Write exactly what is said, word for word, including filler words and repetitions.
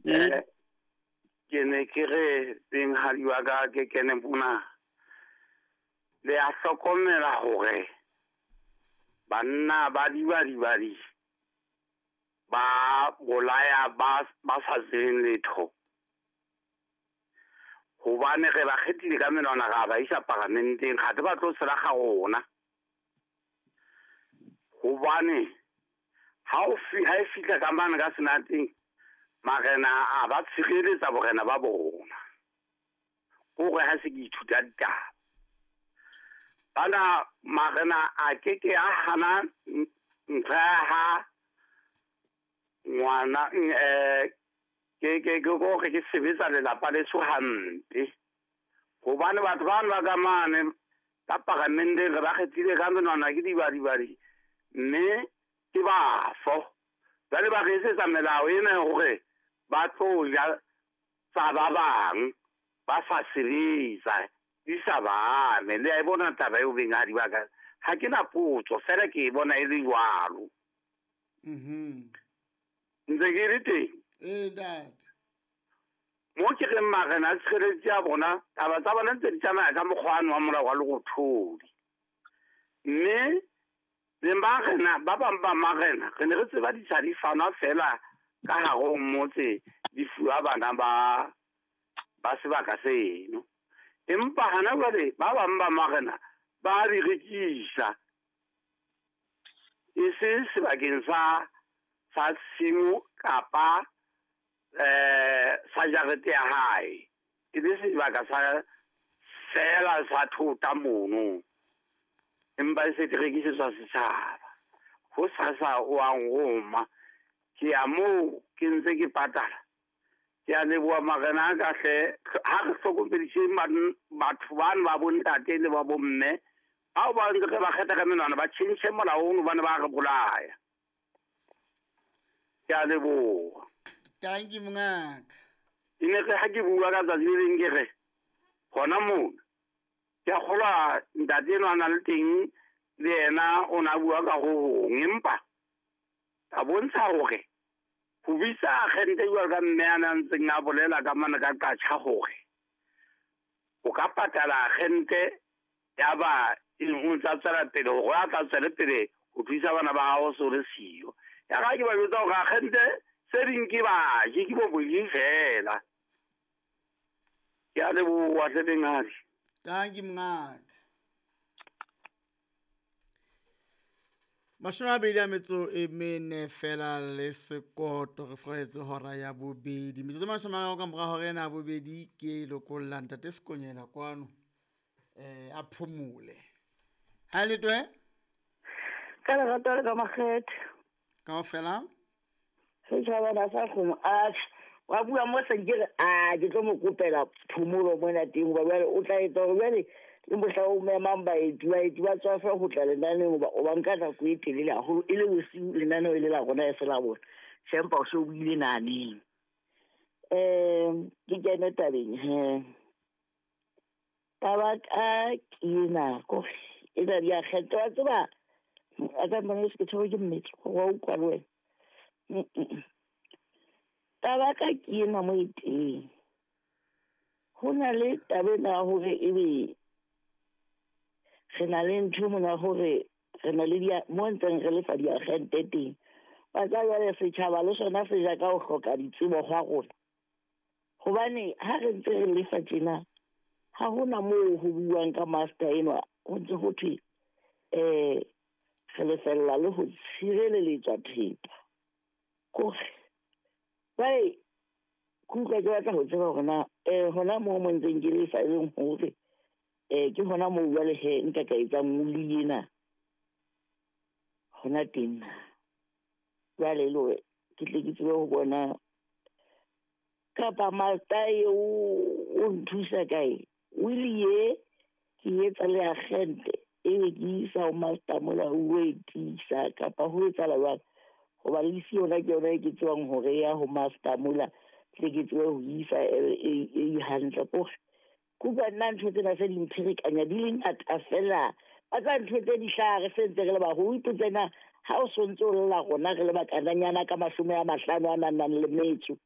Eh, ke ne ke re benghadi wa ka ke kene mona. Le a hlokomela hore banna ba dibadibadi ba bolaya ba ba sa tsebeng letho. Hobane re ba kgethile ka menwana ra ba isa paramenteng, kgathe ba tlo sela ga rona. Hobane ha o fi ha e fihla ka mane ka senateng, marena a ba tshireletsa borena ba bona. Kore ha se ke ithuta ditaba. Bana marena a ke ke a hana ntho ya ha ngwana eh ke ke ke gore ke sebetsa lelapa leso hampe. Hobane batho bano ba ka mane ka paramenteng re ba kgethile ka menwana ke dibadibadi, mme ke bafo. Jwale ba re etsetsa melao ena ya hore ba tlo ja tsa ba bang ba sa sebetsa di sa ba ame. Le a e bona taba eo benghadi ba ka. Ha ke na potso fela ke e bona e le jwalo. Mhm. Ntse ke le teng. Ee, ntate. Mo ke reng marena a tshireletso ya bona, taba tsa bona ntse di tsamaya ka mokgwa wa molao wa Lerothodi. Mme le marena ba bang ba marena re ne re tseba di sa di fanwa fela ka hare ho motse di fuwa bana ba ba sebaka seno. Empa hana jwale ba bang ba marena ba di rekisa e se sebakeng sa sa tshimo kapa eh sa jarete ya hae, e le sebaka sa fela sa thota mono, empa e se di rekisetswa setjhaba. Ho sasa o a nroma, ke ya moo ke ntse ke patala. Ke a leboha marena a ka hle, ha re hlokomediseng batho bano ba bontate le ba bomme bao ba ntse re ba kgetha ka menwana, ba tjhentjhe molao ono hobane ba re bolaya. Ke a leboha. Thank you, mongaka. E ne re ha ke bua ka tsatsi le leng ke re hona mona ke a kgolwa ntate enwa a nang le teng le yena o na bua ka ho hong, empa ka bontsha hore ho bitsa agente jwalo ka mme a na ntseng a bolela ka mane ka qatjha hore o ka patala agente ya ba e o ntsa tswela pele hore a tla tswele pele ho thusa bana ba hao so le siyo. Ya ka ke ba jwetsa hore agente se ding ke baji ke bo boji fela. Ke a leboha hle benghadi. Thank you, mongaka. Mashome a mabedi a metso e mene fela le sekoto re furaletse hora ya bobedi. Metsotso e mashome a mararo ka mora hora ena ya bobedi ke lokolla ntate Sekonyela kwano, eh a phomole. Ha le twe? Ka lerato le ka makgethe. Kaofela? Setjhaba na sa kgomo, atjhe, wa bua mo seng ke re, a ke tlo mo kopela phomolo mona teng hoba jwale o tla etsa hore jwale le mohla o memang baeti, baeti ba tswafe ho tla lenaneng hoba o ba nka nako e telele haholo, e le bosiu lenaneo e le la rona e se la bona. Tjhe, empa o so buile naneng. Um ke kene tabeng he. Taba ka ke ena, kore e na di a kgetha, wa tseba, a ka mpona ke tshwerwe ke mmetso, wa utlwa le wena. Mm-mm. Taba ka ke ena mo e teng. Ho na le taba ena ya hore ebe re na le ntho mona hore re na le dia, mo ntseng re lefa diagente teng. Wa tseba jwale setjhaba le sona se ja ka ho hloka ditsebo hwa rona. Hobane ha re ntse re lefa tjena, ha hona moo ho buuwang ka master enwa, ho ntse ho thwe, eh, re lefella le ho tshireletswa thepa. Kore, jwale, ke utlwa ke batla ho tseba hore na, eh, hona moo mo ntseng ke lefa e leng hore, eh, ke hona moo jwale he nka ka etsang moli ena. Hona teng na. Jwale e le hore ke tle ke tsebe ho bona kapa master eo o nthusa kae. Wili ye ke etsa le agente ebe ke isa ho master mola o e tiisa kapa ho etsahala jwang. Hoba le isi yona ke yona e ke tsebang hore ya ho master mola tle ke tsebe ho isa e, e, e hantle. Kore ke utlwa nna ntho tsena se di mpherekanya di le ngata fela. Ba tsa ntho tse di hlaha re sentse re le baholo. O ipotse na ha o sontse o lla rona re le bakananyana ka mashome a mahlano a nang le metso.